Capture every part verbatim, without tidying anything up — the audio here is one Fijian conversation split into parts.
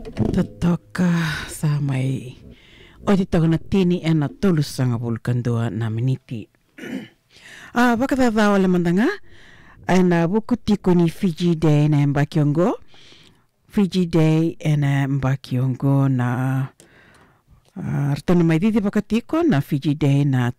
Totoka, sa mai oti toka na tini ena tolusagavulu ka dua na miniti. A, vakacaca wale mada ga ena vuku tiko ni Fiji Day na yabaki oqo. Fiji Day ena yabaki oqo na, a, ratou na mai cicivaka tiko na Fiji Day na,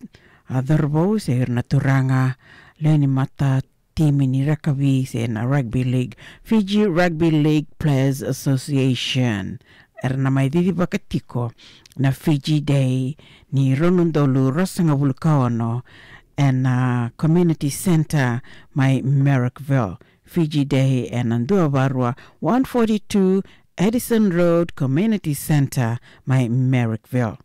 a, cauravou se ira na turaga lewe ni mata timi ni rakavi se na rugby league, Fiji Rugby League Players Association. Era na mai cicivaka tiko na Fiji Day ni rua na udolu ruasagavulu ka ono ena Community Centre mai Marrickville. Fiji Day ena dua va rua, one forty-two Addison Road, Community Centre mai Marrickville.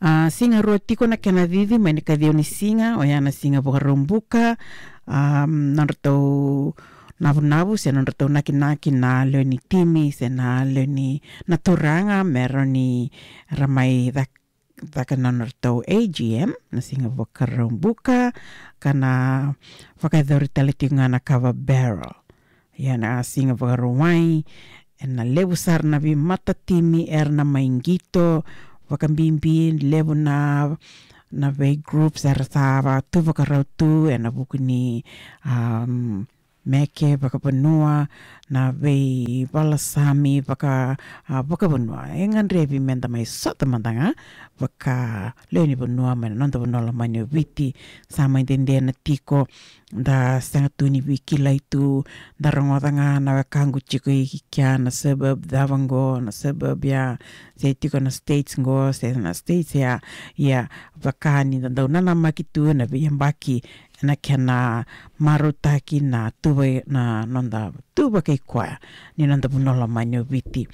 A, siga rua tiko na kena cici, mai na kaciwa ni siga, oya na siga Vakaraubuka, a, nodratou navunavu se nodratou nakinaki na lewe ni timi se na lewe ni na turaga me ra ni ra mai cak-, caka na nodratou A G M na siga Vakaraubuka, ka na vakayacori tale tiko ga na kava barrel. Ia na siga Vakarauwai, ena levu sara na veimata timi era na mai qito, vakabibi levu na, na vei groups era sa va tu vakarau tu ena vuku ni, um, meke vakavanua, na veivalasami vaka, a, vakavanua. E gadrevi meda mai sota mada ga vaka lewe ni vanua mai na noda vanua lomani o Viti. Sa mai dede na tiko da sega tu ni veikilai tu, da rogoca ga na wekaqu tiko i kea na suburb cava qo, na suburb ya, se tiko na states qo se na states ya. Ia, vaka ni da dau nanamaki tu na veiyabaki ena kena marautaki na tuva, na noda tuva kei koya ni noda vanua lomani o Viti.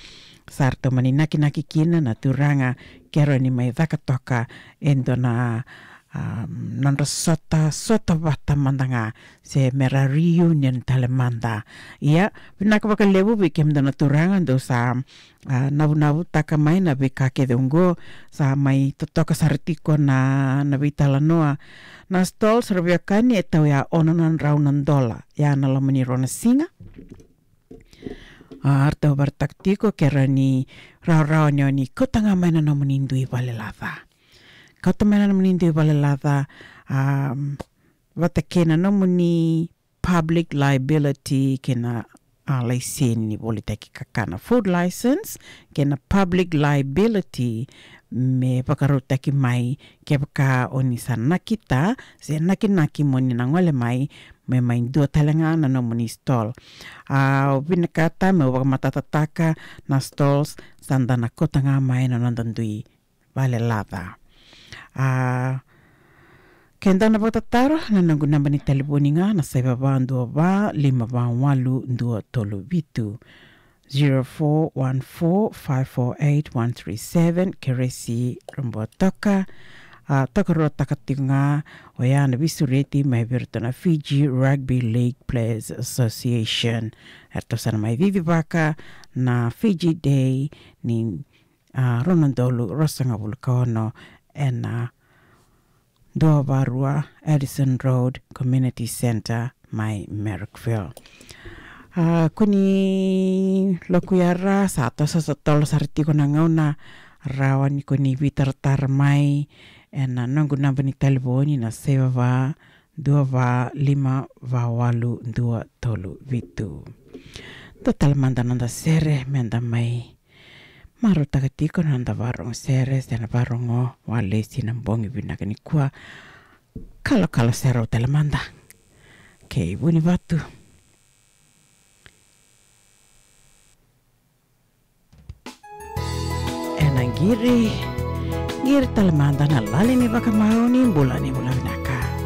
Sa ratou mani nakinaki kina na turaga ke rawa ni mai caka toka e dua na, um, nodra sota, sota vata mada ga se me ra reunion tale mada. Ia, vinaka vakalevu vei kemudou na turaga dou sa, a, navunavutaka mai na veika kece oqo, sa mai totoka sara tiko na, na veitalanoa. Na stalls, ra veiwekani, e tau ya ono na drau na dola ya na loma ni rua na siga. A, ratou vakaraitaka tiko ke rawa ni rawarawa ni o ni kauta ga mai na nomuni dui valelaca. Kauta mai na nomuni dui valelaca, a, vata kei na nomuni public liability kei na, a, laiseni ni volitaki kakana, food license, kei na public liability me vakarautaki mai kevaka o ni sa nakita se nakinaki mo ni na gole mai me mai dua tale ga na nomuni stall. A, au vinakata meu vakamatatataka na stalls sa da na kauta ga mai na noda dui valelaca. A, ke dou na vakatataro, na noqu naba ni talevoni ga na saiva va dua va lima va walu dua tolu vitu, zero four one four five four eight one three seven. Keresi Rabuatoka. A, tokaruataka tiko ga oya na veisureti mai vei iratou na Fiji Rugby League Players Association. Eratou sa na mai cicivaka na Fiji Day ni, a, rua na udolu ruasagavulu ka ono ena dua va rua Addison Road Community Centre mai Marrickville. A, ko ni lokuya ra, sa toso sa tolo sara tiko na gauna, rawa ni ko ni veitaratara mai ena noqu naba ni talevoni na saiva va dua va lima va walu dua tolu vitu. Dua tale mada noda sere meda mai marautaka tiko na noda varogo sere se na varogo walesi na bogi vinaka nikua. Kalokalo serau tale mada kei Vunivatu. Ena qiri, qiri tale mada na lali ni vakamau ni bula, ni bula vinaka.